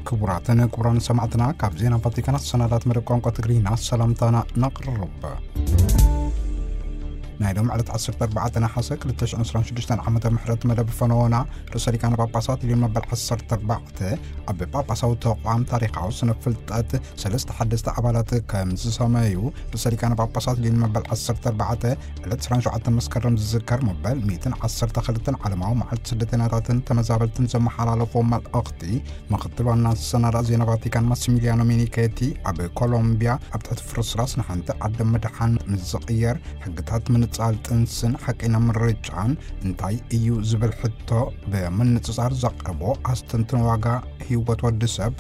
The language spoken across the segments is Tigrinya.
ክቡራትን ክቡራን ሰማዕትና፣ ካብ ዜና ቫቲካን ኣሰናዳት መደብ ቋንቋ ትግርኛ ሰላምታና ነቕርብ። ናይ ሎም ዕለት ዓሰርተ ኣርባዕተ ነሓሰ ክልተ ሽሕን ዕስራን ሽዱሽተን ዓመተ ምሕረት መደብ ፈነወና፣ ርእሰ ሊቃነ ጳጳሳት ሊዮን መበል ዓሰርተ ኣርባዕተ ኣብ ጳጳሳዊ ተቋም ታሪኻዊ ስነ ፍልጠት ሰለስተ ሓደስቲ ኣባላት ከም ዝሰመዩ ርእሰ ሊቃነ ጳጳሳት ሊዮን መበል ዓሰርተ ኣርባዕተ ዕለት ዕስራን ሸውዓተን መስከረም ዝዝከር መበል ሚእትን ዓሰርተ ክልተን ዓለማዊ መዓልቲ ስደተኛታትን ተመዛበልትን ዘመሓላለፎ መልእኽቲ ምኽትል ዋና ኣሰናዳኢ ዜና ቫቲካን ማሲሚሊያኖ ሚኒኬቲ ኣብ ኮሎምቢያ ኣብ ትሕቲ ፍርስራስ ንሓንቲ ዓዲ ምድሓን ምስ ዝቕየር ሕግታት ምንጻል ጥንስን ሓቀኛ ምርጫን እንታይ እዩ ዝብል ሕቶ ብምንጽጻር ዘቕርቦ ኣስተንትን ዋጋ ህይወት ወዲ ሰብ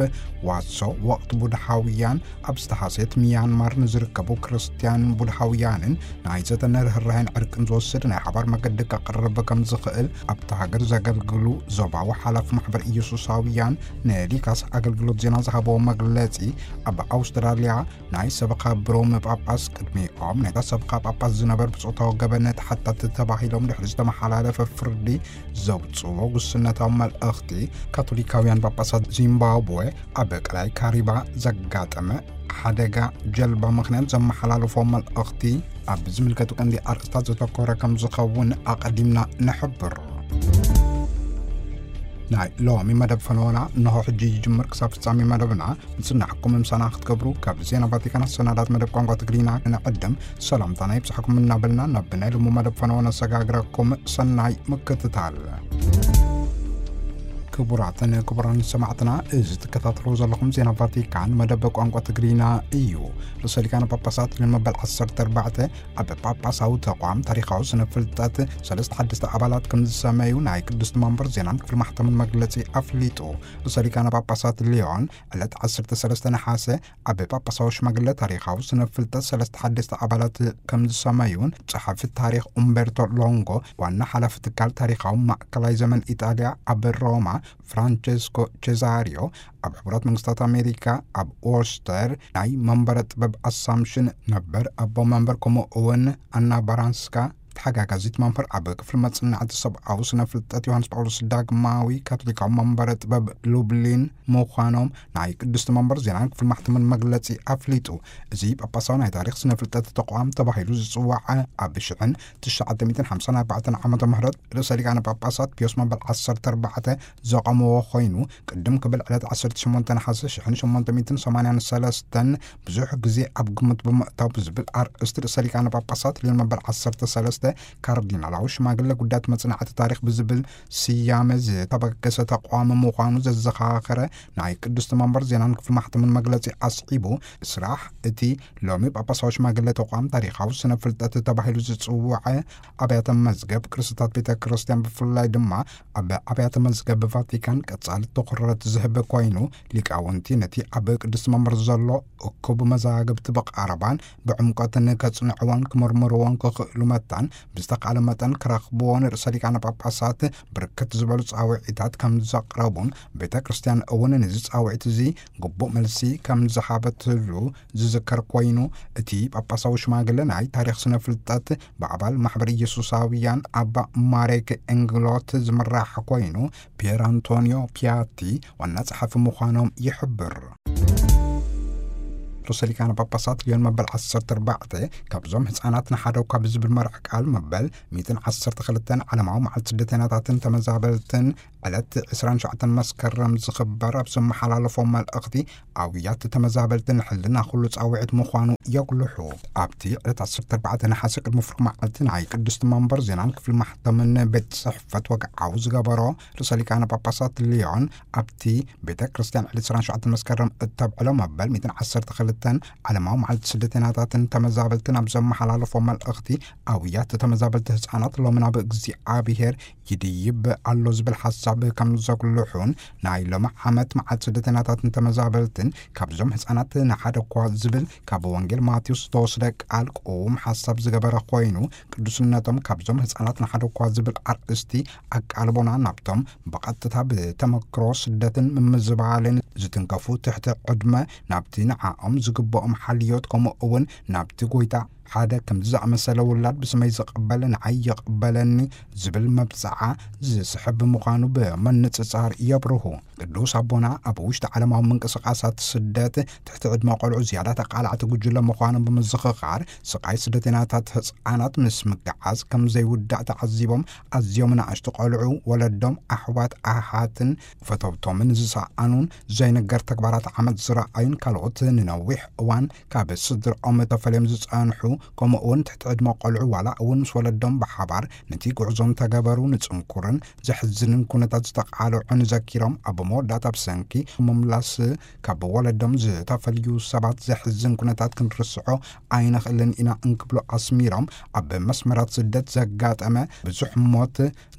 ዋሶ ወቕቲ ቡድሃውያን ኣብ ዝተሃስየት ሚያንማር ንዝርከቡ ክርስትያን ቡድሃውያንን ናይ ዘተነ ርህራሄን ዕርቅን ዝወስድ ናይ ሓባር መገዲ ከቕርብ ከም ዝኽእል ኣብቲ ሃገር ዘገልግሉ ዞባዊ ሓላፊ ማሕበር ኢየሱሳውያን ንሊካስ ኣገልግሎት ዜና ዝሃበዎ መግለጺ ኣብ ኣውስትራልያ ናይ ሰበኻ ብሮም ጳጳስ ቅድሚኦም ናይታ ሰበኻ ጳጳስ ዝነበሩ ብጾታዊ ገበን ተሓታቲ ተባሂሎም ድሕሪ ዝተመሓላለፈ ፍርዲ ዘውጽዎ ጉስነታዊ መልእኽቲ ካቶሊካውያን ጳጳሳት ዚምባብዌ ኣብ ቀላይ ካሪባ ዘጋጠመ ሓደጋ ጀልባ ምኽንያት ዘመሓላለፎ መልእኽቲ ኣብ ዝምልከቱ ቀንዲ ኣርእስታት ዘተኮረ ከም ዝኸውን ኣቐዲምና ንሕብር። ናይ ሎሚ መደብ ፈነወና እንሆ ሕጂ ይጅምር። ክሳብ ፍጻሜ መደብና ምጽናሕኩም ምሳና ክትገብሩ ካብ ዜና ቫቲካን ኣሰናዳት መደብ ቋንቋ ትግርኛ ክንዕድም ሰላምታና ይብጻሕኩም እናበልና ናብ ናይ ሎሚ መደብ ፈነወና ነሰጋግረኩም። ሰናይ ምክትታል። ክቡራትን ክቡራን ሰማዕትና፣ እዚ ትከታተሉ ዘለኹም ዜና ቫቲካን መደብ ቋንቋ ትግርኛ እዩ። ርእሰ ሊቃነ ጳጳሳት ሊዮን መበል ዓሰርተ ኣርባዕተ ኣብ ጳጳሳዊ ተቋም ታሪኻዊ ስነ ፍልጠት ሰለስተ ሓደስቲ ኣባላት ከም ዝሰመዩ ናይ ቅድስቲ መንበር ዜናን ክፍሊ ማሕተምን መግለጺ ኣፍሊጡ። ርእሰ ሊቃነ ጳጳሳት ሊዮን ዕለት ዓሰርተ ሰለስተ ነሓሰ ኣብ ጳጳሳዊ ሽማግለ ታሪኻዊ ስነ ፍልጠት ሰለስተ ሓደስቲ ኣባላት ከም ዝሰመዩን ጸሓፊ ታሪኽ ኡምቤርቶ ሎንጎ፣ ዋና ሓላፊ ትካል ታሪኻዊ ማእከላይ ዘመን ኢጣልያ ኣብ ሮማ ፍራንቸስኮ ቼዛሪዮ፣ ኣብ ሕቡራት መንግስታት ኣሜሪካ ኣብ ዎርስተር ናይ መንበረ ጥበብ ኣሳምሽን ነበር ኣቦ መንበር፣ ከምኡ እውን ኣና ባራንስካ ተሓጋጋዚት መንበር ኣብ ክፍሊ መጽናዕቲ ሰብኣዊ ስነ ፍልጠት ዮሃንስ ጳውሎስ ዳግማዊ ካቶሊካዊ መንበረ ጥበብ ሉብሊን ምዃኖም ናይ ቅድስቲ መንበር ዜናን ክፍሊ ማሕተምን መግለጺ ኣፍሊጡ። እዚ ጳጳሳዊ ናይ ታሪኽ ስነ ፍልጠት ተቋም ተባሂሉ ዝጽዋዕ ኣብ ሽሕን ትሽዓተ ሚእትን ሓምሳን ኣርባዕተን ዓመተ ምህረት ርእሰ ሊቃነ ጳጳሳት ፒዮስ መበል ዓሰርተ ኣርባዕተ ዘቐመዎ ኮይኑ፣ ቅድም ክብል ዕለት ዓሰርተ ሸሞንተ ነሓሰ ሽሕን ሸሞንተ ሚእትን ሰማንያን ሰለስተን ብዙሕ ግዜ ኣብ ግምት ብምእታው ብዝብል ኣርእስቲ ርእሰ ሊቃነ ጳጳሳት ሊዮን መበል ዓሰርተ ሰለስተ ካርዲናላዊ ሽማግለ ጉዳያት መጽናዕቲ ታሪኽ ብዝብል ስያመ ዝተበገሰ ተቋም ምዃኑ ዘዘኻኸረ ናይ ቅድስቲ መንበር ዜናን ክፍሊ ማሕተምን መግለጺ ኣስዒቡ፣ ስራሕ እቲ ሎሚ ጳጳሳዊ ሽማግለ ተቋም ታሪኻዊ ስነ ፍልጠት ተባሂሉ ዝጽውዐ ኣብያተ መዝገብ ቅርስታት ቤተ ክርስቲያን፣ ብፍላይ ድማ ኣብ ኣብያተ መዝገብ ቫቲካን ቀጻሊ ትኹረት ዝህብ ኮይኑ፣ ሊቃውንቲ ነቲ ኣብ ቅድስቲ መንበር ዘሎ እኩብ መዛግብቲ ብቐረባን ብዕምቆትን ከጽንዕዎን ክምርምርዎን ክኽእሉ መታን ብዝተኻእለ መጠን ክረኽብዎ ንርእሰ ሊቃነ ጳጳሳት ብርክት ዝበሉ ጻውዒታት ከም ዘቕረቡን፣ ቤተ ክርስቲያን እውን ነዚ ጻውዒት እዚ ግቡእ መልሲ ከም ዝሃበትሉ ዝዝከር ኮይኑ፣ እቲ ጳጳሳዊ ሽማግለ ናይ ታሪኽ ስነ ፍልጠት ብኣባል ማሕበር ኢየሱሳውያን ኣባ ማሬክ ኤንግሎት ዝምራሕ ኮይኑ፣ ፒየር ኣንቶኒዮ ፒያቲ ዋና ጸሓፊ ምዃኖም ይሕብር። ርእሰ ሊቃነ ጳጳሳት ሊዮን መበል ዓሰርተ ኣርባዕተ ካብዞም ህጻናት ንሓደ እኳ ብዝብል መርሕ ቃል መበል ሚእትን ዓሰርተ ክልተን ዓለማዊ መዓልቲ ስደተኛታትን ተመዛበልትን ዕለት ዕስራን ሸውዓተን መስከረም ዝኽበር ኣብ ዝመሓላለፎ መልእኽቲ፣ ኣውያት ተመዛበልትን ሕልና ኩሉ ጻውዒት ምዃኑ የጉልሑ። ኣብቲ ዕለት ዓሰርተ ኣርባዕተ ነሓሰ ቅድሚ ፍርቂ መዓልቲ ናይ ቅድስቲ መንበር ዜናን ክፍሊ ማሕተምን ቤት ጽሕፈት ወግዓዊ ዝገበሮ ርእሰ ሊቃነ ጳጳሳት ሊዮን፣ ኣብቲ ቤተ ክርስቲያን ዕለት ዕስራን ሸውዓተን መስከረም እተብዕሎ መበል ሚእትን ዓሰርተ ክልተን ዓለማዊ መዓልቲ ስደተኛታትን ተመዛበልትን ኣብ ዘመሓላለፎ መልእኽቲ፣ ኣውያት ተመዛበልቲ ህጻናት ሎሚ ናብ እግዚኣብሔር ይድይብ ኣሎ ዝብል ሓሳብ ከም ዘጉልሑን፣ ናይ ሎሚ ዓመት መዓልቲ ስደተኛታትን ተመዛበልትን ካብዞም ህጻናት ንሓደ እኳ ዝብል ካብ ወንጌል ማቴዎስ ዝተወስደ ቃል ቅዉም ሓሳብ ዝገበረ ኮይኑ፣ ቅዱስነቶም ካብዞም ህጻናት ንሓደ እኳ ዝብል ኣርእስቲ ኣቃልቦና ናብቶም ብቐጥታ ብተመክሮ ስደትን ምምዝባልን ዝትንከፉ ትሕቲ ዕድመ፣ ናብቲ ንዓኦም ዝግብኦም ሓልዮት፣ ከምኡ እውን ናብቲ ጎይታ ሓደ ከምዚ ዝኣመሰለ ውላድ ብስመይ ዝቕበል ንዓይ ይቕበለኒ ዝብል መብጽዓ ዝስሕብ ምዃኑ ብምንጽጻር የብርሁ። ቅዱስ ኣቦና ኣብ ውሽጢ ዓለማዊ ምንቅስቓሳት ስደት ትሕቲ ዕድመ ቆልዑ ዝያዳ ተቓላዕቲ ጉጅለ ምዃኖም ብምዝኽኻር፣ ስቓይ ስደተኛታት ህጻናት ምስ ምግዓዝ ከም ዘይውዳእ ተዓዚቦም፣ ኣዝዮም ንኣሽቱ ቆልዑ ወለዶም፣ ኣሕዋት፣ ኣሓትን ፈተውቶምን ዝሰኣኑን፣ ዘይንገር ተግባራት ዓመጽ ዝረኣዩን ካልኦት ንነዊሕ እዋን ካብ ስድራኦም ተፈልዮም ዝጸንሑ፣ ከምኡ እውን ትሕቲ ዕድመ ቆልዑ ዋላ እውን ምስ ወለዶም ብሓባር ነቲ ጉዕዞ እንተገበሩ ንጽንኩርን ዘሕዝንን ኩነታት ዝተቓልዑ ንዘኪሮም፣ ኣብ መወዳእታ ብሰንኪ ምምላስ ካብ ወለዶም ዝተፈልዩ ሰባት ዘሕዝን ኩነታት ክንርስዖ ኣይንኽእልን ኢና እንክብሉ ኣስሚሮም፣ ኣብ መስመራት ስደት ዘጋጠመ ብዙሕ ሞት፣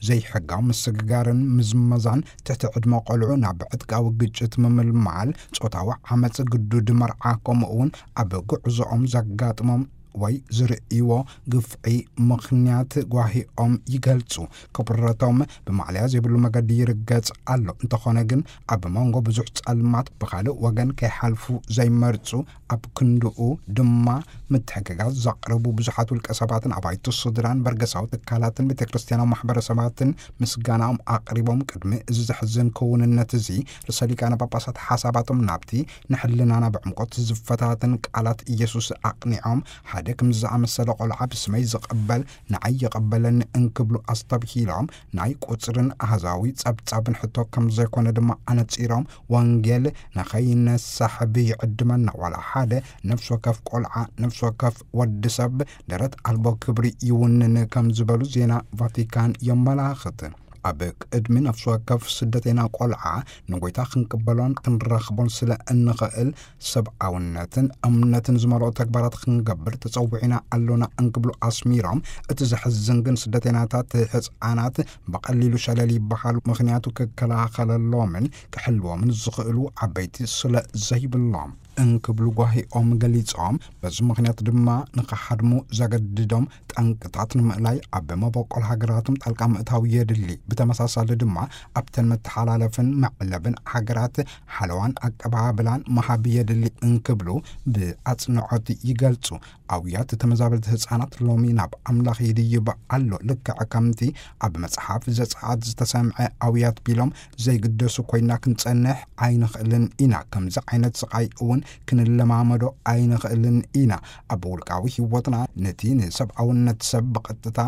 ዘይሕጋዊ ምስግጋርን ምዝመዛን ትሕቲ ዕድመ ቆልዑ ናብ ዕጥቃዊ ግጭት ምምልማል፣ ጾታዊ ዓመጽ፣ ግዱድ መርዓ፣ ከምኡ እውን ኣብ ጉዕዞኦም ዘጋጥሞም ወይ ዝርእይዎ ግፍዒ ምኽንያት ጓሂኦም ይገልጹ። ክብረቶም ብማዕለያ ዘይብሉ መገዲ ይርገጽ ኣሎ። እንተኾነ ግን ኣብ መንጎ ብዙሕ ጸልማት ብኻልእ ወገን ከይሓልፉ ዘይመርጹ፣ ኣብ ክንድኡ ድማ ምትሕግጋዝ ዘቕርቡ ብዙሓት ውልቀ ሰባትን ኣባይቲ ስድራን በርገሳዊ ትካላትን ቤተ ክርስቲያናዊ ማሕበረሰባትን ምስጋናኦም ኣቕሪቦም፣ ቅድሚ እዚ ዘሕዝን ክውንነት እዚ ርእሰ ሊቃነ ጳጳሳት ሓሳባቶም ናብቲ ንሕልናና ብዕምቆት ዝፈታተን ቃላት ኢየሱስ ኣቕኒዖም፣ ሓደ ከምዚ ዝኣመሰለ ቆልዓ ብስመይ ዝቕበል ንዓይ ይቐበለኒ እንክብሉ ኣስተብሂሎም፣ ናይ ቁጽርን ኣሃዛዊ ጸብጻብን ሕቶ ከም ዘይኮነ ድማ ኣነጺሮም፣ ወንጌል ንኸይነሳሕብ ይዕድመና፣ ዋላ ሓደ ነፍሲ ወከፍ ቆልዓ፣ ነፍሲ ወከፍ ወዲ ሰብ ደረት ኣልቦ ክብሪ ይውንን ከም ዝበሉ ዜና ቫቲካን የመላኽት። ኣብ ቅድሚ ነፍሲ ወከፍ ስደተኛ ቆልዓ ንጎይታ ክንቅበሎን ክንረኽቦን ስለ እንኽእል፣ ሰብኣውነትን እምነትን ዝመልኦ ተግባራት ክንገብር ተጸዊዕና ኣሎና እንክብሉ ኣስሚሮም፣ እቲ ዘሕዝን ግን ስደተኛታት ህጻናት ብቐሊሉ ሸለል ይበሃሉ፣ ምኽንያቱ ክከላኸለሎምን ክሕልዎምን ዝኽእሉ ዓበይቲ ስለ ዘይብሎም እንክብሉ ጓሂኦም ገሊጾም፣ በዚ ምኽንያት ድማ ንኽሓድሙ ዘገድዶም ጠንቅታት ንምእላይ ኣብ መበቆል ሃገራቶም ጣልቃ ምእታው የድሊ። ብተመሳሳሊ ድማ ኣብተን መተሓላለፍን መዕለብን ሃገራት ሓለዋን ኣቀባብላን ምሃብ የድሊ እንክብሉ ብኣጽንዖት ይገልጹ። ኣውያት ተመዛበልቲ ህጻናት ሎሚ ናብ ኣምላኽ ይድይብ ኣሎ። ልክዕ ከምቲ ኣብ መጽሓፍ ዘጸኣት ዝተሰምዐ ኣውያት ቢሎም ዘይግደሱ ኮይና ክንጸንሕ ኣይንኽእልን ኢና። ከምዚ ዓይነት ስቓይ እውን ክንለማመዶ ኣይንኽእልን ኢና። ኣብ ውልቃዊ ህይወትና ነቲ ንሰብኣውነት ሰብ ብቐጥታ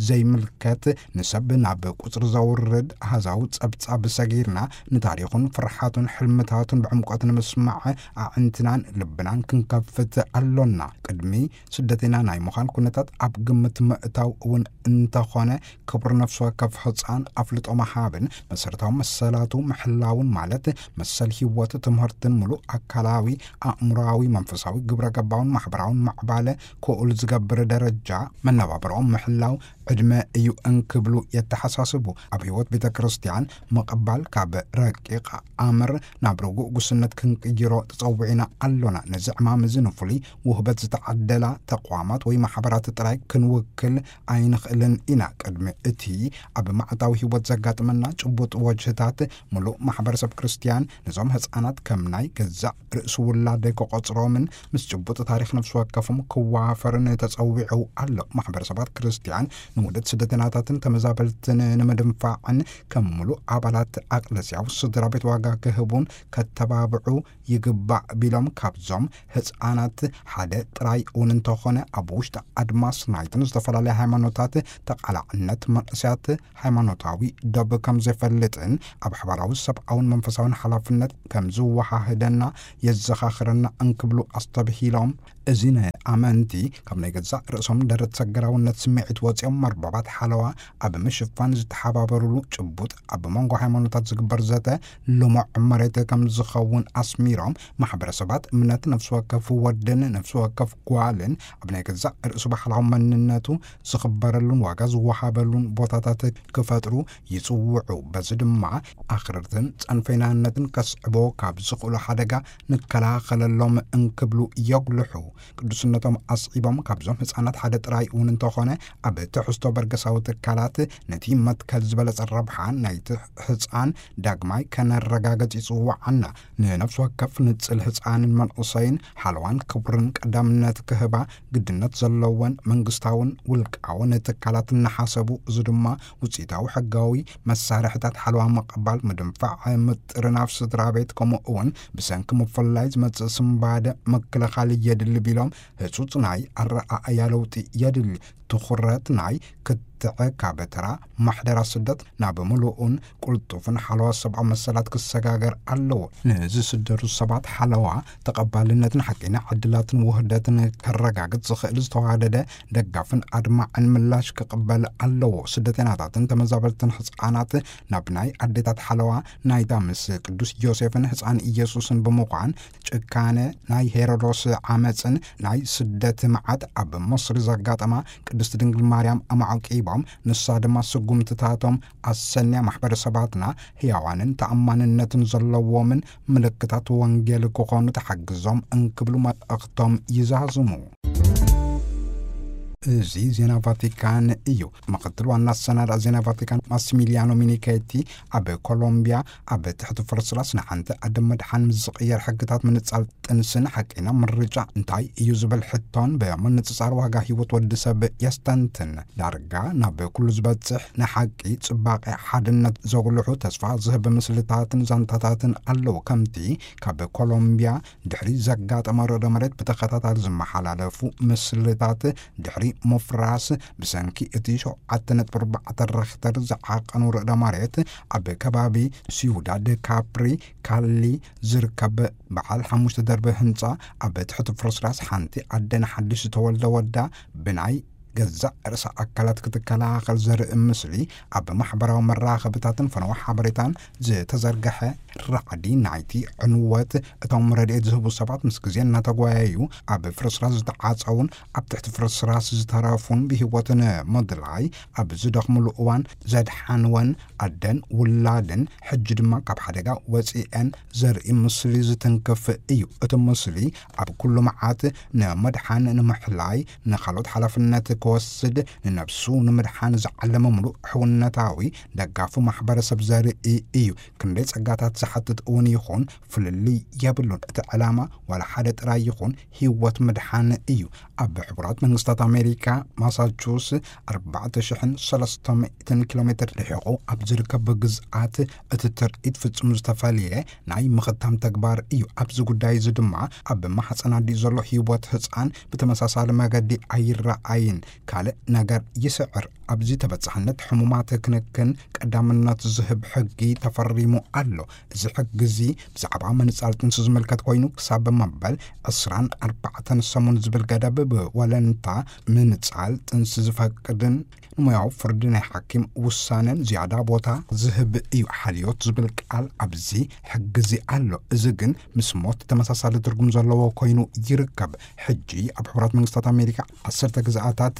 ዘይምልከት ንሰብ ናብ ቁጽሪ ዘውርድ ኣሃዛዊ ጸብጻብ ሰጊርና ንታሪኹን ፍርሓቱን ሕልምታቱን ብዕምቆት ንምስማዕ ኣዕንትናን ልብናን ክንከፍት ኣሎና። ቅድሚ ስደተኛ ናይ ምዃን ኩነታት ኣብ ግምት ምእታው እውን እንተኾነ፣ ክቡር ነፍሲ ወከፍ ህጻን ኣፍልጦ ምሃብን መሰረታዊ መሰላቱ ምሕላውን፣ ማለት መሰል ህይወት፣ ትምህርትን ምሉእ ኣካላዊ፣ ኣእምሮኣዊ፣ መንፈሳዊ፣ ግብረ ገባውን ማሕበራውን ማዕባለ ክኡል ዝገብር ደረጃ መነባብሮኦም ምሕላው ዕድመ እዩ እንክብሉ የተሓሳስቡ። ኣብ ህይወት ቤተ ክርስቲያን ምቕባል ካብ ረቂቕ ኣምር ናብ ርጉእ ጉስነት ክንቅይሮ ተጸዊዕና ኣሎና። ነዚ ዕማም እዚ ንፍሉይ ውህበት ዝተዓደላ ተቋማት ወይ ማሕበራት ጥራይ ክንውክል ኣይንኽእልን ኢና። ቅድሚ እቲ ኣብ መዓልታዊ ህይወት ዘጋጥመና ጭቡጥ ወጅህታት፣ ምሉእ ማሕበረሰብ ክርስቲያን ነዞም ህጻናት ከም ናይ ገዛእ ርእሱ ውላደይ ክቖጽሮምን ምስ ጭቡጥ ታሪኽ ነፍሲ ወከፎም ክዋፈርን ተጸዊዑ ኣሎ። ማሕበረሰባት ክርስቲያን ንውደት ስደተኛታትን ተመዛበልትን ንምድንፋዕን ከም ምሉእ ኣባላት ኣቅለስያዊ ስድራ ቤት ዋጋ ክህቡን ከተባብዑ ይግባእ ቢሎም፣ ካብዞም ህጻናት ሓደ ጥራይ እውን እንተኾነ ኣብ ውሽጢ ኣድማስ ናይተን ዝተፈላለያ ሃይማኖታት ተቓላዕነት መንእሰያት ሃይማኖታዊ ዶብ ከም ዘፈልጥን ኣብ ሓባራዊ ሰብኣውን መንፈሳውን ሓላፍነት ከም ዝወሃህደና የዘኻኽረና እንክብሉ ኣስተብሂሎም፣ እዚ ንኣመንቲ ካብ ናይ ገዛእ ርእሶም ደረት ሰገራውነት ስምዒት ወጺኦም መርበባት ሓለዋ ኣብ ምሽፋን ዝተሓባበሩሉ ጭቡጥ ኣብ መንጎ ሃይማኖታት ዝግበር ዘተ ልሙዕ መሬት ከም ዝኸውን ኣስሚሮም፣ ማሕበረሰባት እምነት ነፍሲ ወከፍ ወድን ነፍሲ ወከፍ ጓልን ኣብ ናይ ገዛእ ርእሱ ባህላዊ መንነቱ ዝኽበረሉን ዋጋ ዝወሃበሉን ቦታታት ክፈጥሩ ይጽውዑ። በዚ ድማ ኣኽርርትን ጸንፈይናነትን ከስዕቦ ካብ ዝኽእሉ ሓደጋ ንከላኸለሎም እንክብሉ የጉልሑ። ቅዱስነቶም ኣስዒቦም፣ ካብዞም ህጻናት ሓደ ጥራይ እውን እንተኾነ ኣብ ትሕቲ ስቶበርገሳዊ ትካላት ነቲ መትከል ዝበለጸ ረብሓ ናይቲ ህጻን ዳግማይ ከነረጋገጽ ይጽውዓና። ንነፍሲ ወከፍ ንጽል ህጻንን መንእሰይን ሓለዋን ክብርን ቀዳምነት ክህባ ግድነት ዘለወን መንግስታውን ውልቃውን ትካላት እናሓሰቡ፣ እዚ ድማ ውጽኢታዊ ሕጋዊ መሳርሕታት ሓለዋ ምቕባል፣ ምድንፋዕ፣ ምጥርናፍ ስድራ ቤት፣ ከምኡ እውን ብሰንኪ ምፍላይ ዝመጽእ ስንባደ ምክልኻል የድሊ ቢሎም፣ ህጹጽ ናይ ኣረኣእያ ለውጢ የድሊ። ትኹረት ናይ ክትዕ ካብ ተራ ማሕደራ ስደት ናብ ምሉእን ቅልጡፍን ሓለዋ ሰብኣዊ መሰላት ክሰጋገር ኣለዎ። ንዝስደዱ ሰባት ሓለዋ ተቐባልነትን ሓቀኛ ዕድላትን ውህደትን ከረጋግጽ ዝኽእል ዝተዋደደ ደጋፍን ኣድማዕን ምላሽ ክቕበል ኣለዎ። ስደተኛታትን ተመዛበልትን ህጻናት ናብ ናይ ኣዴታት ሓለዋ ናይታ ምስ ቅዱስ ዮሴፍን ህጻን ኢየሱስን ብምዃን ጭካነ ናይ ሄሮዶስ ዓመጽን ናይ ስደት መዓት ኣብ መስሪ ዘጋጠማ ቅድስት ድንግል ማርያም ኣማዕቂቦም፣ ንሳ ድማ ስጉምትታቶም ኣሰንያ ማሕበረሰባትና ህያዋንን ተኣማንነትን ዘለዎምን ምልክታት ወንጌል ክኾኑ ተሓግዞም እንክብሉ መልእኽቶም ይዛዝሙ። እዚ ዜና ቫቲካን እዩ። ምክትል ዋና ኣሰናዳ ዜና ቫቲካን ማሲሚሊያኖ ሚኒኬቲ ኣብ ኮሎምቢያ ኣብ ትሕቲ ፍርስራስ ንሓንቲ ኣደ መድሓን ምስ ዝቕየር ሕግታት ምንጻል ጥንስን ሓቀኛ ምርጫ እንታይ እዩ ዝብል ሕቶን ብምንጽጻር ዋጋ ህይወት ወዲ ሰብ የስተንትን። ዳርጋ ናብ ኩሉ ዝበጽሕ ንሓቂ፣ ጽባቐ፣ ሓድነት ዘጉልሑ ተስፋ ዝህብ ምስልታትን ዛንታታትን ኣለዉ። ከምቲ ካብ ኮሎምቢያ ድሕሪ ዘጋጠመ ርዕደ መሬት ብተኸታታሊ ዝመሓላለፉ ምስልታት፣ ድሕሪ ምፍራስ ብሰንኪ እቲ ሸውዓተ ነጥቢ ኣርባዕተ ሬክተር ዝዓቐኑ ርዕደ መሬት ኣብ ከባቢ ሲዩዳድ ካፕሪ ካሊ ዝርከብ በዓል ሓሙሽተ ደርቢ ህንጻ፣ ኣብ ትሕቲ ፍርስራስ ሓንቲ ኣደ ንሓድሽ ዝተወልደ ወዳ ብናይ ገዛእ ርእሳ ኣካላት ክትከላኸል ዘርኢ ምስሊ፣ ኣብ ማሕበራዊ መራኸብታትን ፈነወ ሓበሬታን ዝተዘርግሐ ራዕዲ ናይቲ ዕንወት፣ እቶም ረድኤት ዝህቡ ሰባት ምስ ግዜ እናተጓየዩ ኣብ ፍርስራስ ዝተዓጸውን ኣብ ትሕቲ ፍርስራስ ዝተረፉን ብህይወትን ምድላይ ኣብ ዝደኽምሉ እዋን ዘድሓንወን ኣደን ውላድን፣ ሕጂ ድማ ካብ ሓደጋ ወጺኤን ዘርኢ ምስሊ ዝትንክፍ እዩ። እቲ ምስሊ ኣብ ኩሉ መዓት ንመድሓን ንምሕላይ፣ ንኻልኦት ሓላፍነት ክወስድ፣ ንነብሱ ንምድሓን ዝዓለመ ምሉእ ሕውነታዊ ደጋፉ ማሕበረሰብ ዘርኢ እዩ። ክንደይ ጸጋታት ዝሓትት እውን ይኹን ፍልልይ የብሉን። እቲ ዕላማ ዋላ ሓደ ጥራይ ይኹን ህይወት ምድሓን እዩ። ኣብ ሕቡራት መንግስታት ኣሜሪካ ማሳቹስ ኣርባዕተ ሽሕን ሰለስተ ሚእትን ኪሎ ሜትር ርሒቑ ኣብ ዝርከብ ግዝኣት እቲ ትርኢት ፍጹም ዝተፈልየ ናይ ምኽታም ተግባር እዩ። ኣብዚ ጉዳይ እዚ ድማ ኣብ ማሕጸን ኣዲኡ ዘሎ ህይወት ህጻን ብተመሳሳሊ መገዲ ኣይረኣይን። ካልእ ነገር ይስዕር። ኣብዚ ተበጻሕነት ሕሙማት ክንክን ቀዳምነት ዝህብ ሕጊ ተፈሪሙ ኣሎ። እዚ ሕጊ እዚ ብዛዕባ ምንጻል ጥንሲ ዝምልከት ኮይኑ ክሳብ መበል ዕስራን ኣርባዕተን ሰሙን ዝብል ገደብ ብወለንታ ምንጻል ጥንሲ ዝፈቅድን ንሞያዊ ፍርዲ ናይ ሓኪም ውሳነን ዝያዳ ቦታ ዝህብ እዩ። ሓልዮት ዝብል ቃል ኣብዚ ሕጊ እዚ ኣሎ። እዚ ግን ምስ ሞት ተመሳሳሊ ትርጉም ዘለዎ ኮይኑ ይርከብ። ሕጂ ኣብ ሕቡራት መንግስታት ኣሜሪካ ዓሰርተ ግዝኣታት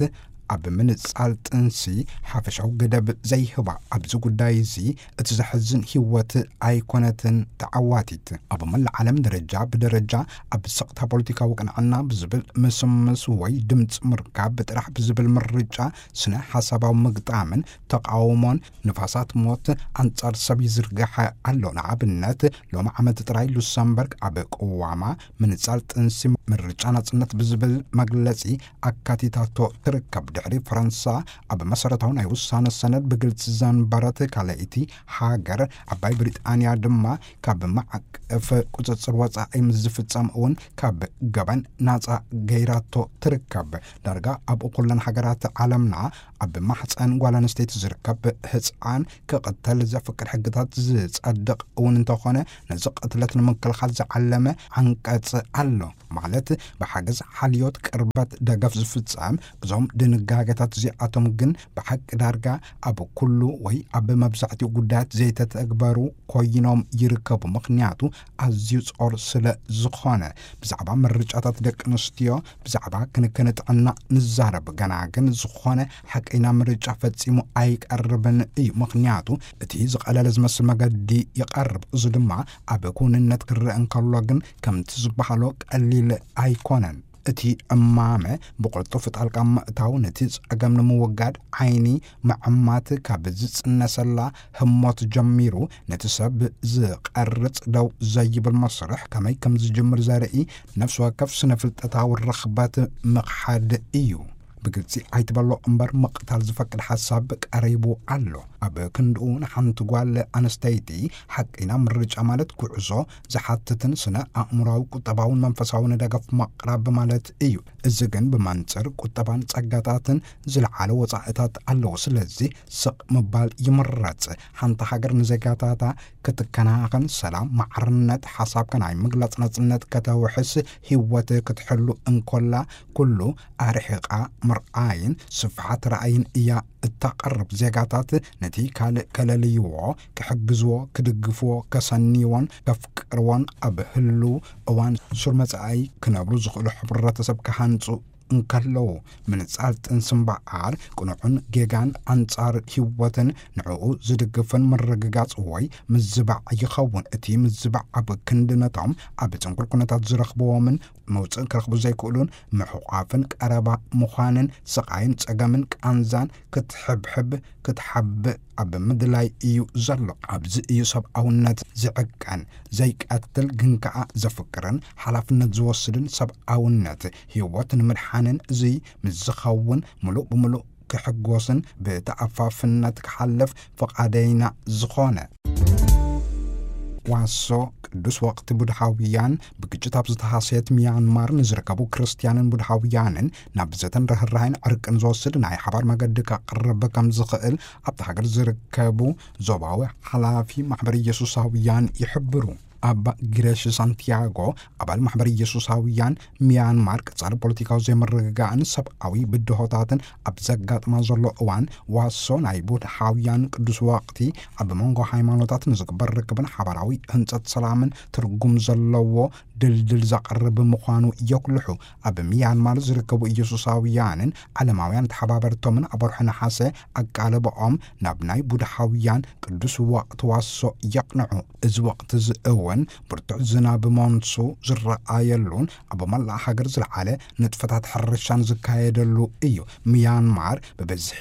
ኣብ ምንጻል ጥንሲ ሓፈሻዊ ገደብ ዘይህባ። ኣብዚ ጉዳይ እዚ እቲ ዘሕዝን ህይወት ኣይኮነትን ተዓዋቲት። ኣብ መላእ ዓለም ደረጃ ብደረጃ ኣብ ስቕታ ፖለቲካዊ ቅንዕና ብዝብል ምስምስ ወይ ድምፂ ምርካብ ብጥራሕ ብዝብል ምርጫ ስነ ሓሳባዊ ምግጣምን ተቃውሞን ንፋሳት ሞት ኣንጻር ሰብ ይዝርጋሕ ኣሎ። ንኣብነት ሎሚ ዓመት ጥራይ ሉክሰምበርግ ኣብ ቅዋማ ምንጻል ጥንሲ ምርጫ ናጽነት ብዝብል መግለጺ ኣካቲታቶ ትርከብ። ድሕሪ ፈረንሳ ኣብ መሰረታዊ ናይ ውሳነ ሰነድ ብግልጺ ዘንበረት ካልኣይቲ ሃገር፣ ዓባይ ብሪጣንያ ድማ ካብ ማዕቀፍ ቁጽጽር ወጻኢ ምስ ዝፍጸም እውን ካብ ገበን ናጻ ገይራቶ ትርከብ። ዳርጋ ኣብ ኩለን ሃገራት ዓለምና ኣብ ማሕፀን ጓል ኣንስተይቲ ዝርከብ ህፃን ክቕተል ዘፍቅድ ሕግታት ዝጸድቕ እውን እንተኾነ፣ ነዚ ቅትለት ንምክልኻል ዝዓለመ ዓንቀጽ ኣሎ። ማለት ብሓገዝ ሓልዮት ቅርበት ደገፍ ዝፍጸም። እዞም ድንጋገታት እዚኣቶም ግን ብሓቂ ዳርጋ ኣብ ኩሉ ወይ ኣብ መብዛሕትኡ ጉዳያት ዘይተተግበሩ ኮይኖም ይርከቡ። ምኽንያቱ ኣዝዩ ጾር ስለ ዝኾነ። ብዛዕባ ምርጫታት ደቂ ኣንስትዮ፣ ብዛዕባ ክንክን ጥዕና ንዛረብ፣ ገና ግን ዝኾነ ሓቀይና ምርጫ ፈጺሙ ኣይቀርብን እዩ። ምኽንያቱ እቲ ዝቐለለ ዝመስል መገዲ ይቐርብ። እዚ ድማ ኣብ ክውንነት ክረአ እንከሎ ግን ከምቲ ዝበሃሎ ቀሊል ኣይኮነን። እቲ ዕማመ ብቕልጡፍ ጣልቃ ምእታው፣ ነቲ ጸገም ንምውጋድ ዓይኒ ምዕማት ካብ ዝጽነሰላ ህሞት ጀሚሩ፣ ነቲ ሰብ ዝቐርጽ ደው ዘይብል መስርሕ ከመይ ከም ዝጅምር ዘርኢ ነፍሲ ወከፍ ስነ ፍልጠታዊ ርኽበት ምኽሓድ እዩ። ብግልጺ ኣይትበሎ እምበር፣ ምቕታል ዝፈቅድ ሓሳብ ቀሪቡ ኣሎ። ኣብ ክንድኡ፣ ንሓንቲ ጓል ኣንስተይቲ ሓቂና ምርጫ ማለት ጉዕዞ ዝሓትትን ስነ ኣእምሮኣዊ፣ ቁጠባውን መንፈሳውን ደገፍ ምቕራብ ማለት እዩ። እዚ ግን ብመንጽር ቁጠባን ጸጋታትን ዝለዓለ ወጻኢታት ኣለዎ። ስለዚ ስቕ ምባል ይምረጽ። ሓንቲ ሃገር ንዜጋታታ ክትከናኸን፣ ሰላም፣ ማዕርነት፣ ሓሳብካ ናይ ምግላጽ ናጽነት ከተውሕስ፣ ህይወት ክትሕሉ እንኮላ፣ ኩሉ ኣርሒቓ ምርኣይን ስፍሓት ራእይን እያ እተቕርብ። ዜጋታት ነቲ ካልእ ከለልይዎ፣ ክሕግዝዎ፣ ክድግፍዎ፣ ከሰንይዎን ከፍቅርዎን፣ ኣብ ህሉው እዋን ሱር መጻኢ ክነብሩ ዝኽእሉ ሕብረተሰብ ክሃንጹ እንከለዉ፣ ምንጻል ጥንሲ እምበኣር፣ ቅኑዕን ጌጋን ኣንጻር ህይወትን ንዕኡ ዝድግፍን ምርግጋጽ ወይ ምዝባዕ ይኸውን። እቲ ምዝባዕ ኣብ ክንዲ ነቶም ኣብ ጽንኩር ኩነታት ዝረኽብዎምን መውጽእ ክረኽቡ ዘይክእሉን፣ ምሕቋፍን ቀረባ ምዃንን፣ ስቓይን ጸገምን ቃንዛን ክትሕብሕብ፣ ክትሓብእ ኣብ ምድላይ እዩ ዘሎ። ኣብዚ እዩ ሰብኣውነት ዝዕቀን። ዘይቀትል ግን ከኣ ዘፍቅርን ሓላፍነት ዝወስድን፣ ሰብኣውነት ህይወት ንምድሓንን፣ እዚ ምስ ዝኸውን ምሉእ ብምሉእ ክሕጎስን ብተኣፋፍነት ክሓልፍ ፍቓደይና ዝኾነ። ዋሶ ቅዱስ ወቕቲ ቡድሃውያን ብግጭት ኣብ ዝተሃሰየት ሚያንማር ንዝርከቡ ክርስትያንን ቡድሃውያንን ናብ ዘተን ርህራሄን ዕርቅን ዝወስድ ናይ ሓባር መገዲ ከቕርብ ከም ዝኽእል ኣብቲ ሃገር ዝርከቡ ዞባዊ ሓላፊ ማሕበር ኢየሱሳውያን ይሕብሩ። ኣባ ግረሽ ሳንቲያጎ፣ ኣባል ማሕበር ኢየሱሳውያን ሚያንማር፣ ቀጻሊ ፖለቲካዊ ዘይምርግጋእን ሰብኣዊ ብድሆታትን ኣብ ዘጋጥማ ዘሎ እዋን፣ ዋሶ ናይ ቡድሃውያን ቅዱስ ወቕቲ ኣብ መንጎ ሃይማኖታት ንዝግበር ርክብን ሓባራዊ ህንጸት ሰላምን ትርጉም ዘለዎ ድልድል ዘቕርብ ምዃኑ የጉልሑ። ኣብ ሚያንማር ዝርከቡ ኢየሱሳውያንን ዓለማውያን ተሓባበርቶምን ኣብ ወርሒ ነሓሰ ኣቃልቦኦም ናብ ናይ ቡድሃውያን ቅዱስ ወቕቲ ዋሶ የቕንዑ። እዚ ወቕቲ እዚ እውን ብርቱዕ ዝናብ ሞንሱ ዝረኣየሉን ኣብ መላእ ሃገር ዝለዓለ ንጥፈታት ሕርሻን ዝካየደሉ እዩ። ሚያንማር ብብዝሒ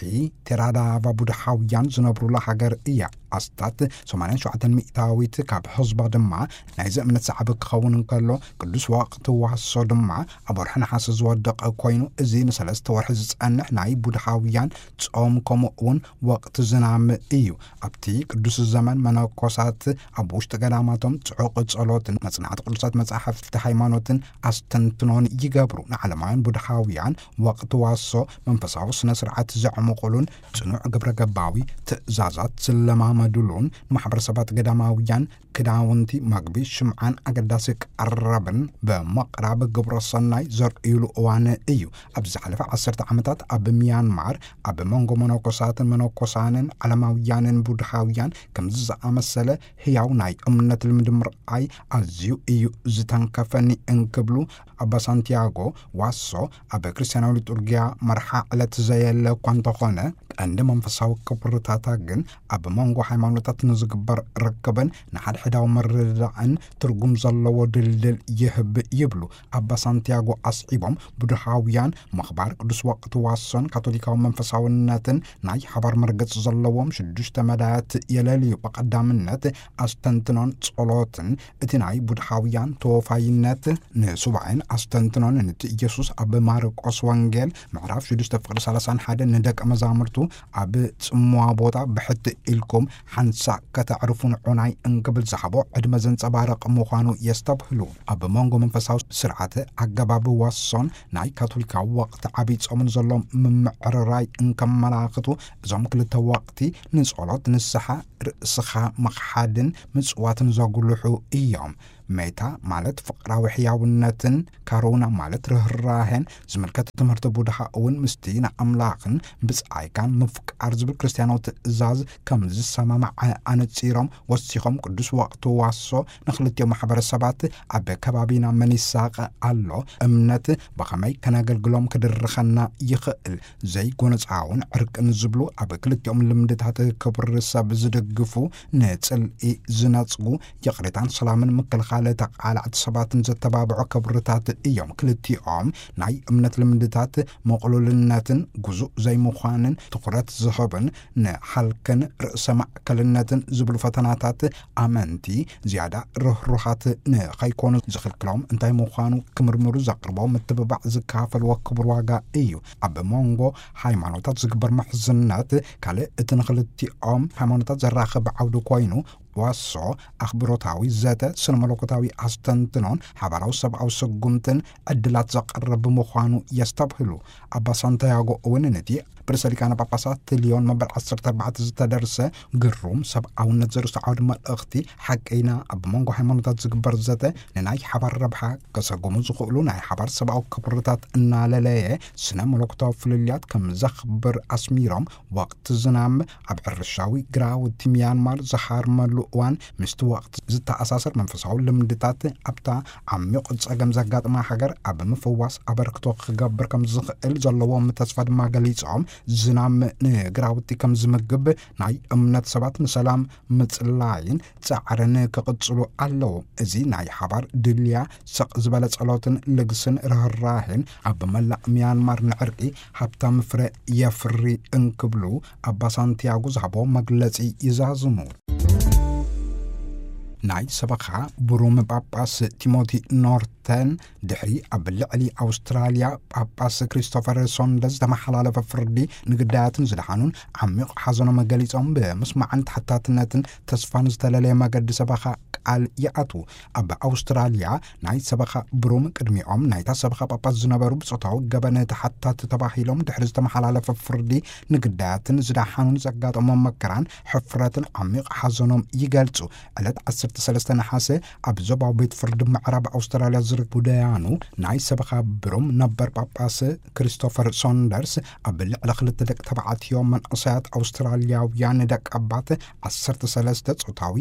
ቴራዳቫ ቡድሃውያን ዝነብሩላ ሃገር እያ። ኣስታት ሰማንያን ሸውዓተን ሚእታዊት ካብ ህዝባ ድማ ናይዚ እምነት ዝዓቢ ክኸውን እንከሎ፣ ቅዱስ ወቕቲ ዋሶ ድማ ኣብ ወርሒ ነሓሰ ዝወደቐ ኮይኑ፣ እዚ ንሰለስተ ወርሒ ዝጸንሕ ናይ ቡድሃውያን ጾም፣ ከምኡ እውን ወቕቲ ዝናም እዩ። ኣብቲ ቅዱስ ዘመን መነኮሳት ኣብ ውሽጢ ገዳማቶም ጽዑቕ ጸሎትን መጽናዕቲ ቅዱሳት መጻሕፍቲ ሃይማኖትን ኣስተንትኖን ይገብሩ። ንዓለማውያን ቡድሃውያን ወቕቲ ዋሶ መንፈሳዊ ስነ ስርዓት ዘዕምቑሉን ጽኑዕ ግብረ ገባዊ ትእዛዛት ዝለማመዱሉን፣ ንማሕበረሰባት ገዳማውያን ክዳውንቲ፣ መግቢ፣ ሽምዓን ኣገዳሲ ቀረብን ብምቕራብ ግብረ ሰናይ ዘርእዩሉ እዋን እዩ። ኣብ ዝሓለፈ ዓሰርተ ዓመታት ኣብ ሚያንማር ኣብ መንጎ መነኮሳትን መነኮሳንን ዓለማውያንን ቡድሃውያን ከምዚ ዝኣመሰለ ህያው ናይ እምነት ልምዲ ምርኣይ ኣዝዩ እዩ ዝተንከፈኒ እንክብሉ ኣባ ሳንቲያጎ ዋሶ ኣብ ክርስትያናዊ ሊጡርጊያ መርሓ ዕለት ዘየለ እኳ እንተኾነ፣ ቀንዲ መንፈሳዊ ክብርታታ ግን ኣብ መንጎ ሃይማኖታት ንዝግበር ርክብን ንሓድሕዳዊ ምርድዳእን ትርጉም ዘለዎ ድልድል ይህብ ይብሉ ኣባ ሳንቲያጎ ኣስዒቦም። ቡድሃውያን ምኽባር ቅዱስ ወቕቲ ዋሶን ካቶሊካዊ መንፈሳውነትን ናይ ሓባር መርገጽ ዘለዎም ሽዱሽተ መዳያት የለልዩ። ብቐዳምነት ኣስተንትኖን ጸሎትን፣ እቲ ናይ ቡድሃውያን ተወፋይነት ንሱባኤን ኣስተንትኖን፣ ነቲ ኢየሱስ ኣብ ማርቆስ ወንጌል ምዕራፍ ሽዱሽተ ፍቕዲ ሰላሳን ሓደን ንደቀ መዛሙርቱ ኣብ ጽምዋ ቦታ ብሕቲ ኢልኩም ሓንሳእ ከተዕርፉ ንዑናይ እንክብል ዝሃቦ ዕድመ ዘንጸባርቕ ምዃኑ የስተብህሉ። ኣብ መንጎ መንፈሳዊ ስርዓተ ኣገባብ ዋሶን ናይ ካቶሊካዊ ወቕቲ ዓብይ ጾምን ዘሎ ምምዕርራይ እንከመላኽቱ፣ እዞም ክልተ ወቕቲ ንጸሎት፣ ንስሓ፣ ርእስኻ ምኽሓድን ምጽዋትን ዘጉልሑ እዮም። ሜታ ማለት ፍቕራዊ ሕያውነትን፣ ካሩና ማለት ርህራሄን ዝምልከት ትምህርቲ ቡድሃ እውን ምስቲ ንኣምላኽን ብጻይካን ምፍቃር ዝብል ክርስትያናዊ ትእዛዝ ከም ዝሰማማዕ ኣነጺሮም ወሲኾም፣ ቅዱስ ወቕቲ ዋሶ ንኽልቲኦም ማሕበረሰባት ኣብ ከባቢና መን ይሳቐ ኣሎ፣ እምነት ብኸመይ ከነገልግሎም ክድርኸና ይኽእል፣ ዘይጎነጻውን ዕርቅን ዝብሉ ኣብ ክልቲኦም ልምድታት ክብሪ ሰብ ዝድግፉ፣ ንጽልኢ ዝነጽጉ፣ ይቕሬታን ሰላምን ምክልኻል ተቓላዕቲ ሰባትን ዘተባብዑ ክብርታት እዮም። ክልቲኦም ናይ እምነት ልምድታት መቕሉልነትን ግዙእ ዘይምዃንን ትኹረት ዝህብን ንሓልክን ርእሰ ማእከልነትን ዝብሉ ፈተናታት ኣመንቲ ዝያዳ ርህሩሃት ንኸይኮኑ ዝኽልክሎም እንታይ ምዃኑ ክምርምሩ ዘቕርቦ ምትብባዕ ዝከፋፈልዎ ክቡር ዋጋ እዩ። ኣብ መንጎ ሃይማኖታት ዝግበር ምሕዝነት ካልእ እቲ ንኽልቲኦም ሃይማኖታት ዘራኽብ ዓውዲ ኮይኑ ዋሶ ኣኽብሮታዊ ዘተ ስነ መለኮታዊ ኣስተንትኖን ሓባራዊ ሰብኣዊ ስጉምትን ዕድላት ዘቐርብ ምዃኑ የስተብህሉ። ኣባ ሳንቲያጎ እውን ነቲ ብርእሰ ሊቃነ ጳጳሳት ሊዮን መበል ዓሰርተ ኣርባዕተ ዝተደርሰ ግሩም ሰብኣውነት ዘርእስቱ ዓውዲ መልእኽቲ ሓቀይና ኣብ መንጎ ሃይማኖታት ዝግበር ዘተ ንናይ ሓባር ረብሓ ከሰጉሙ ዝኽእሉ ናይ ሓባር ሰብኣዊ ክብርታት እናለለየ ስነ መለኮታዊ ፍልልያት ከም ዘኽብር ኣስሚሮም፣ ወቕቲ ዝናም ኣብ ሕርሻዊ ግራውቲ ሚያንማር ዝሃርመሉ እዋን ምስቲ ወቕቲ ዝተኣሳሰር መንፈሳዊ ልምድታት ኣብታ ዓሚቕ ጸገም ዘጋጥማ ሃገር ኣብ ምፍዋስ ኣበርክቶ ክገብር ከም ዝኽእል ዘለዎም ተስፋ ድማ ገሊጾም፣ ዝናም ንግራውቲ ከም ዝምግብ፣ ናይ እምነት ሰባት ንሰላም ምጽላይን ጻዕርን ክቕጽሉ ኣለዎም። እዚ ናይ ሓባር ድልያ ስቕ ዝበለ ጸሎትን ልግስን ርህራሄን ኣብ መላእ ሚያንማር ንዕርቂ ሃብታም ፍረ የፍሪ እንክብሉ ኣባ ሳንቲያጎ ዝሃቦ መግለጺ ይዛዝሙ። ናይ ሰበኻ ብሩም ጳጳስ ቲሞቲ ኖርተን ድሕሪ ኣብ ልዕሊ ኣውስትራልያ ጳጳስ ክሪስቶፈር ሶንደርስ ዝተመሓላለፈ ፍርዲ ንግዳያትን ዝደሓኑን ዓሚቕ ሓዘኖም ገሊጾም፣ ብምስማዕን ተሓታትነትን ተስፋን ዝተለለየ መገዲ ሰበኻ ቃል ይኣትዉ። ኣብ ኣውስትራልያ ናይ ሰበኻ ብሩም ቅድሚኦም ናይታ ሰበኻ ጳጳስ ዝነበሩ ብጾታዊ ገበን ተሓታቲ ተባሂሎም ድሕሪ ዝተመሓላለፈ ፍርዲ ንግዳያትን ዝደሓኑን ዘጋጠሞም መከራን ሕፍረትን ዓሚቕ ሓዘኖም ይገልጹ። ዕለት ዓሰርተ ሰለስተ ነሓሰ ኣብ ዞባዊ ቤት ፍርዲ ምዕራብ ኣውስትራልያ ዝርከቡ ደያኑ ናይ ሰበኻ ብሩም ነበር ጳጳስ ክሪስቶፈር ሶንደርስ ኣብ ልዕሊ ክልተ ደቂ ተባዕትዮ መንእሰያት ኣውስትራልያውያን ደቂ ኣባት ዓሰርተ ሰለስተ ጾታዊ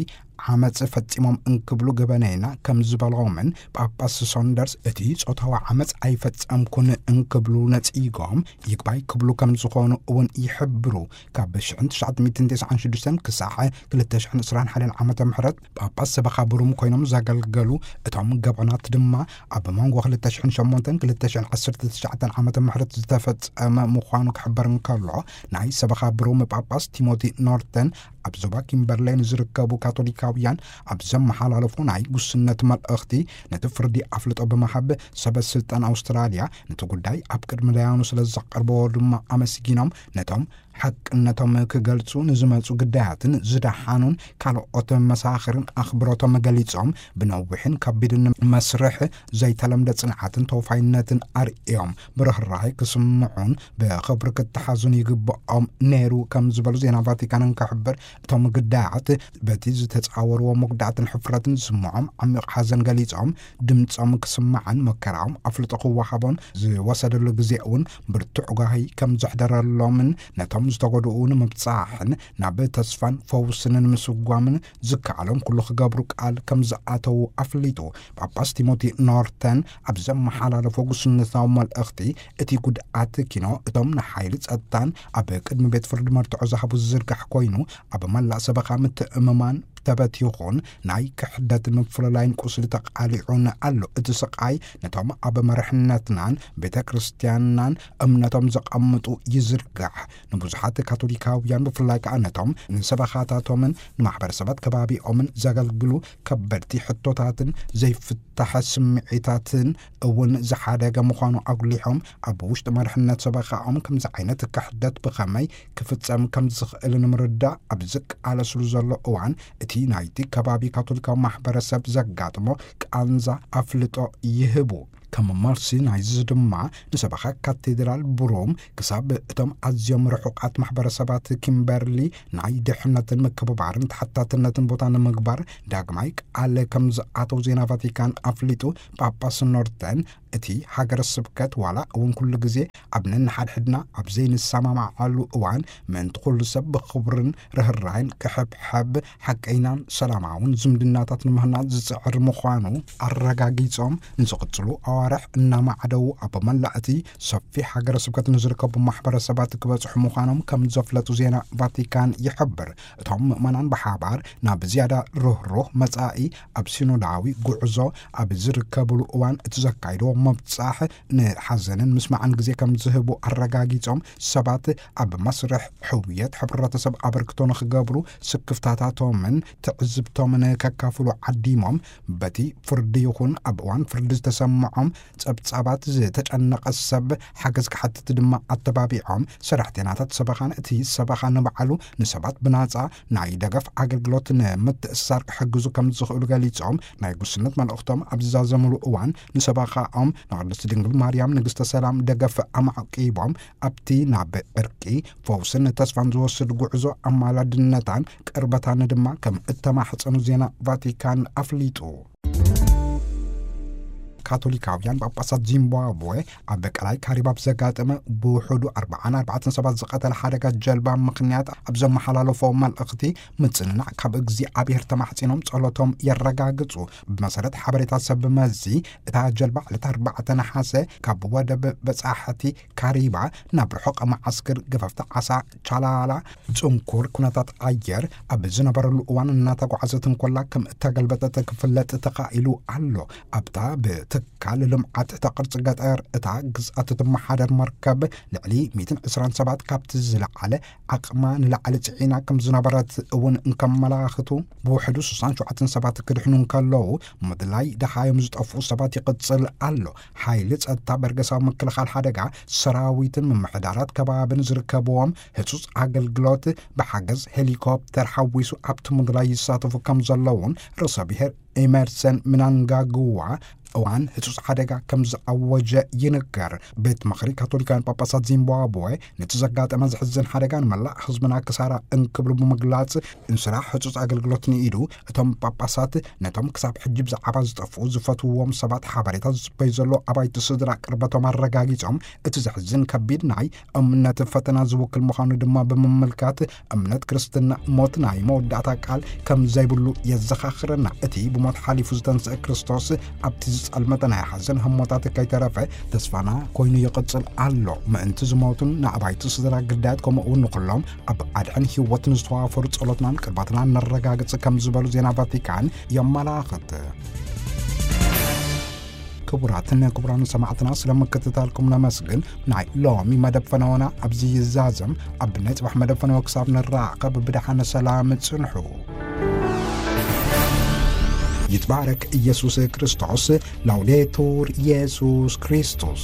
ዓመጽ ፈጺሞም እንክብሉ ገበነይና ከም ዝበሎምን ጳጳስ ሶንደርስ እቲ ጾታዊ ዓመጽ ኣይፈጸምኩን እንክብሉ ነጺጎም ይግባይ ክብሉ ከም ዝኾኑ እውን ይሕብሩ። ካብ ሽሕን ትሽዓተ ሚእትን ተስዓን ሽዱሽተን ክሳዕ ክልተ ሽሕን ዕስራን ሓደን ዓመተ ምሕረት ጳጳስ ሰበኻ ብሩም ኮይኖም ዘገልገሉ እቶም ገበናት ድማ ኣብ መንጎ ክልተ ሽሕን ሸሞንተን ክልተ ሽሕን ዓሰርተ ትሽዓተን ዓመተ ምሕረት ዝተፈጸመ ምዃኑ ክሕበር እንከሎ፣ ናይ ሰበኻ ብሩም ጳጳስ ቲሞቲ ኖርተን ኣብ ዞባ ኪምበርሌይ ንዝርከቡ ካቶሊካውያን ኣብ ዘመሓላለፎ ናይ ጉስነት መልእኽቲ፣ ነቲ ፍርዲ ኣፍልጦ ብምሃብ፣ ሰበ ስልጣን ኣውስትራልያ ነቲ ጉዳይ ኣብ ቅድሚ ደያኑ ስለ ዘቐርበዎ ድማ ኣመስጊኖም፣ ነቶም ሓቅነቶም ክገልጹ ንዝመጹ ግዳያትን ዝደሓኑን ካልኦት መሳኽርን ኣኽብሮቶም ገሊጾም፣ ብነዊሕን ከቢድን መስርሕ ዘይተለምደ ጽንዓትን ተወፋይነትን ኣርእዮም፣ ብርህራሄ ክስምዑን ብኽብሪ ክተሓዙን ይግብኦም ነይሩ ከም ዝበሉ ዜና ቫቲካን እንክሕብር፣ እቶም ግዳያት በቲ ዝተጻወርዎ መጉዳእትን ሕፍረትን ዝስምዖም ዓሚቕ ሓዘን ገሊጾም፣ ድምጾም ክስማዕን መከራኦም ኣፍልጦ ክወሃቦን ዝወሰደሉ ግዜ እውን ብርቱዕ ጓሂ ከም ዘሕደረሎምን ነቶም ዝተጎድኡ ንምብጻሕን ናብ ተስፋን ፈውስን ንምስጓምን ዝከኣሎም ኩሉ ክገብሩ ቃል ከም ዝኣተዉ ኣፍሊጡ። ጳጳስ ቲሞቲ ኖርተን ኣብ ዘመሓላለፎ ጉስነታዊ መልእኽቲ፣ እቲ ጉድኣት ኪኖ እቶም ንሓይሊ ጸጥታን ኣብ ቅድሚ ቤት ፍርዲ መርትዖ ዝሃቡ ዝዝርጋሕ ኮይኑ፣ ኣብ መላእ ሰበኻ ምትእምማን ተበቲኹን ናይ ክሕደትን ምፍልላይን ቁስሊ ተቓሊዑን ኣሎ። እቲ ስቓይ ነቶም ኣብ መርሕነትናን ቤተ ክርስቲያንናን እምነቶም ዘቐምጡ ይዝርጋሕ። ንብዙሓት ካቶሊካውያን ብፍላይ ከኣ ነቶም ንሰበኻታቶምን ንማሕበረሰባት ከባቢኦምን ዘገልግሉ ከበድቲ ሕቶታትን ዘይፍታሕ ስምዒታትን እውን ዝሓደገ ምዃኑ ኣጉሊሖም፣ ኣብ ውሽጢ መርሕነት ሰበኻኦም ከምዚ ዓይነት ክሕደት ብኸመይ ክፍጸም ከም ዝኽእል ንምርዳእ ኣብ ዝቃለስሉ ዘሎ እዋን፣ እቲ ናይቲ ከባቢ ካቶሊካዊ ማሕበረሰብ ዘጋጥሞ ቃንዛ ኣፍልጦ ይህቡ። ከም መልሲ ናይዚ ድማ ንሰበኻ ካቴድራል ብሮም ክሳብ እቶም ኣዝዮም ርሑቓት ማሕበረሰባት ኪምበርሊ ናይ ድሕነትን ምክብባርን ተሓታትነትን ቦታ ንምግባር ዳግማይ ቃል ከም ዝኣተው ዜና ቫቲካን ኣፍሊጡ። ጳጳስ ኖርተን እቲ ሃገረ ስብከት ዋላ እውን ኩሉ ግዜ ኣብ ነንሓድሕድና ኣብ ዘይንሰማማዓሉ እዋን፣ ምእንቲ ኩሉ ሰብ ብኽብርን ርህራይን ክሕብሐብ፣ ሓቀይናን ሰላማውን ዝምድናታት ንምህናጽ ዝጽዕር ምዃኑ ኣረጋጊጾም፣ ንዝቕጽሉ ኣዋርሕ እናማዕደዉ ኣብ መላእ እቲ ሰፊሕ ሃገረ ስብከት ንዝርከቡ ማሕበረሰባት ክበጽሑ ምዃኖም ከም ዘፍለጡ ዜና ቫቲካን ይሕብር። እቶም ምእመናን ብሓባር ናብ ዝያዳ ርህሩህ መጻኢ ኣብ ሲኖዳዊ ጉዕዞ ኣብ ዝርከብሉ እዋን፣ እቲ ዘካይዶ መብጻሕ ንሓዘንን ምስማዕን ግዜ ከም ዝህቡ ኣረጋጊጾም፣ ሰባት ኣብ መስርሕ ሕውየት ሕብረተሰብ ኣበርክቶ ንኽገብሩ ስክፍታታቶምን ትዕዝብቶምን ከካፍሉ ዓዲሞም፣ በቲ ፍርዲ ይኹን ኣብ እዋን ፍርዲ ዝተሰምዖም ጸብጻባት ዝተጨነቐ ሰብ ሓገዝ ክሓትት ድማ ኣተባቢዖም፣ ሰራሕተኛታት ሰበኻን እቲ ሰበኻ ንባዕሉ ንሰባት ብናጻ ናይ ደገፍ ኣገልግሎት ንምትእስሳር ክሕግዙ ከም ዝኽእሉ ገሊጾም፣ ናይ ጉስነት መልእኽቶም ኣብ ዝዛዘምሉ እዋን፣ ንሰበኻኦም ንቅድስቲ ድንግል ማርያም ንግስተ ሰላም ደገፍ ኣማዕቂቦም፣ ኣብቲ ናብ ዕርቂ፣ ፈውስን ተስፋን ዝወስድ ጉዕዞ ኣማላድነታን ቅርበታን ድማ ከም እተማሕጸኑ ዜና ቫቲካን ኣፍሊጡ። ካቶሊካውያን ጳጳሳት ዚምባብዌ ኣብ ቀላይ ካሪብ ኣብ ዘጋጠመ ብውሑዱ ኣርባዓን ኣርባዕተን ሰባት ዝቐተለ ሓደጋ ጀልባ ምኽንያት ኣብ ዘመሓላለፎ መልእኽቲ፣ ምጽንናዕ ካብ እግዚኣብሔር ተማሕጺኖም ጸሎቶም የረጋግጹ። ብመሰረት ሓበሬታ ሰብ መዚ፣ እታ ጀልባ ዕለት ኣርባዕተ ነሓሰ ካብ ወደብ በጻሕቲ ካሪባ ናብ ርሑቕ መዓስከር ገፈፍቲ ዓሳ ቻላላ፣ ጽንኩር ኩነታት ኣየር ኣብ ዝነበረሉ እዋን እናተጓዓዘት እንኮላ ከም እተገልበጠት ክፍለጥ ተኻኢሉ ኣሎ። ኣብታ ብትካል ልምዓት ትሕተ ቅርጺ ገጠር እታ ግዝኣት እትመሓደር መርከብ፣ ልዕሊ ሚእትን ዕስራን ሰባት ካብቲ ዝለዓለ ዓቕማ ንላዕሊ ጽዒና ከም ዝነበረት እውን እንከመላኽቱ፣ ብውሕዱ ስሳን ሸውዓተን ሰባት ክድሕኑ እንከለዉ፣ ምድላይ ደሃዮም ዝጠፍኡ ሰባት ይቕጽል ኣሎ። ሓይሊ ጸጥታ፣ በርገሳዊ ምክልኻል ሓደጋ ሰራዊትን ምምሕዳራት ከባብን ዝርከብዎም ህጹጽ ኣገልግሎት፣ ብሓገዝ ሄሊኮፕተር ሓዊሱ ኣብቲ ምድላይ ይሳተፉ ከም ዘለውን ርእሰ ብሔር ኤመርሰን ምናንጋግዋ እዋን ህጹጽ ሓደጋ ከም ዝኣወጀ ይንገር። ቤት ምኽሪ ካቶሊካውያን ጳጳሳት ዚምባብዌ ነቲ ዘጋጠመ ዘሕዝን ሓደጋ ንመላእ ህዝብና ክሳራ እንክብሉ ብምግላጽ፣ እንስራሕ ህጹጽ ኣገልግሎት ንኢዱ፣ እቶም ጳጳሳት ነቶም ክሳብ ሕጂ ብዛዕባ ዝጠፍኡ ዝፈትውዎም ሰባት ሓበሬታ ዝጽበዩ ዘሎ ኣባይቲ ስድራ ቅርበቶም ኣረጋጊጾም፣ እቲ ዘሕዝን ከቢድ ናይ እምነት ፈተና ዝውክል ምዃኑ ድማ ብምምልካት፣ እምነት ክርስትና ሞት ናይ መወዳእታ ቃል ከም ዘይብሉ የዘኻኽረና። እቲ ብሞት ሓሊፉ ዝተንስአ ክርስቶስ ኣብቲ ዝጸልመተ ናይ ሓዘን ህሞታት ከይተረፈ ተስፋና ኮይኑ ይቕጽል ኣሎ። ምእንቲ ዝሞቱን ንኣባይቲ ስድራ ግዳያት፣ ከምኡ እውን ንኹሎም ኣብ ኣድሕን ህይወት ንዝተዋፈሩ ጸሎትናን ቅርባትናን ነረጋግጽ ከም ዝበሉ ዜና ቫቲካን የመላኽት። ክቡራትን ክቡራን ሰማዕትና፣ ስለ ምክትታልኩም ነመስግን። ናይ ሎሚ መደብ ፈነወና ኣብዚ ይዛዘም። ኣብ ናይ ጽባሕ መደብ ፈነወ ክሳብ ንራኸብ ብደሓነ ሰላም ጽንሑ። ይትባረክ ኢየሱስ ክርስቶስ። ላውዴቱር ኢየሱስ ክርስቶስ።